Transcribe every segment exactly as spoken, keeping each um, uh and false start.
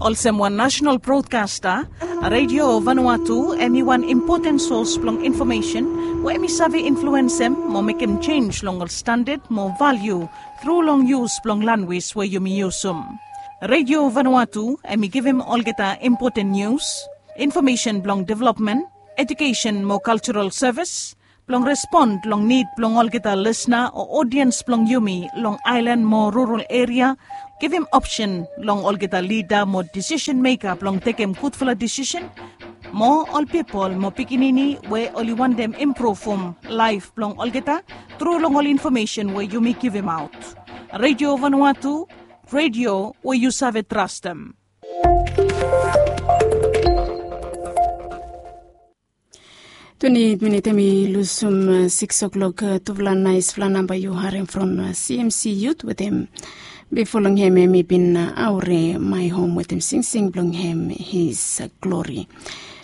Olsem wan nasenal brodkasta, Redio Vanuatu em i wan impoten sos blong infomesen we em i save influensem mo mekem jenis long ol standad mo valiu tru long yus blong lanwis we yumi yusum. Redio Vanuatu em i givim olgeta impoten nius, infomesen blong developmen, ejukesen mo kaljaral sevis, blong respon long nid blong olgeta lisna o odiens blong yumi long aelan mo rural eria, givim opsen long olgeta lida mo disisen meka blong tekem gudfala disisen, mo ol pipol mo pikinini we oli wantem impruvum laef blong olgeta tru long ol infomesen we yumi givimaot. Redio Vanuatu, redio we yu save trastem. Twenti minit em i lusum sikis oklok. Tufala naesfala namba yu harem from CMC Yut wetem bifo long hem em i bin aore mai hom wetem singsing blong hem His Glori.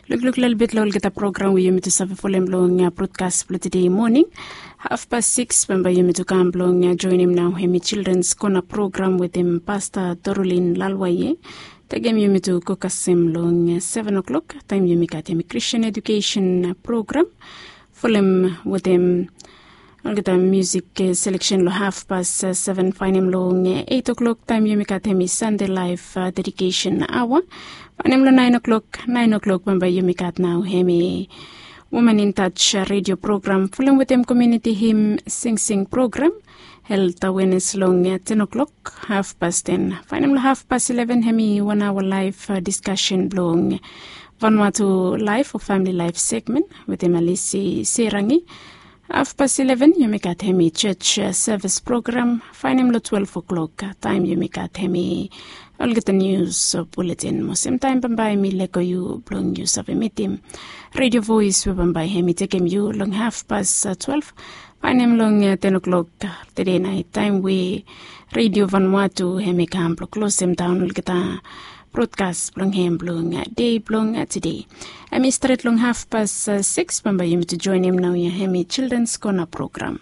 Lukluk lelebet long olgeta program we yumi tu save folem long brodkas blong tede moning. Hafpas sikis bambae yumi tu kam blong joenem nao hem i Childrens Kona program wetem Pasta Dorolin Lalwaye. Taem yumi tu go kasem long seven o'clock taem yumi gat hem i Christian Education program. Folem wetem olgeta musik seleksen long hafpas seven. Faenem long eight o'clock taem yumi gat hem i Sunday Life Dedication Aoa. Faenem long nine o'clock, nine o'clock bambae yumi gat nao hem i Woman in Touch redio program. Folem wetem komuniti him singsing program. Helt awenes long ten o'clock, hafpas ten. Faenem long hafpas eleven hem i wan aoa laef diskasen blong Vanuatu laef o famili laef segmen wetem Alisi Serangi. Hafpas eleven yumi gat hem i church sevis program. Faenem long twelve o'clock taem yumi gat hem i olgeta nius buletin mo semtaem bambae mi lego yu blong yu save mitim redio voes we bambae hem i tekem yu long hafpas twelve. Faenem long ten o'clock tede naet taem we Redio Vanuatu hem i kam blong klosem daon olgeta brodkas blong hem blong dei blong tede. Hem i stret long hafpas sikis bambae yumi tu joenem naoia hem i Childrens Kona program.